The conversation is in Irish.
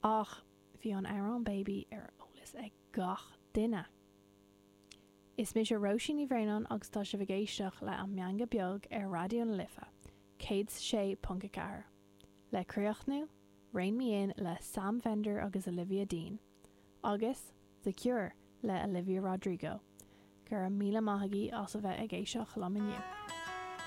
Ach bhí an amhrán Baby ar eolas ag gach duine. Is mise Róisín Ní Bhraonáin agus tá sibh ag éisteacht le An Meangadh Beag ar Raidió na Life 106.4. Le críochnú, Rein Me In le Sam Fender agus Olivia Dean, agus The Cure le Olivia Rodrigo. Go raibh míle maith agaibh as a bheith ag éisteacht liom inniu.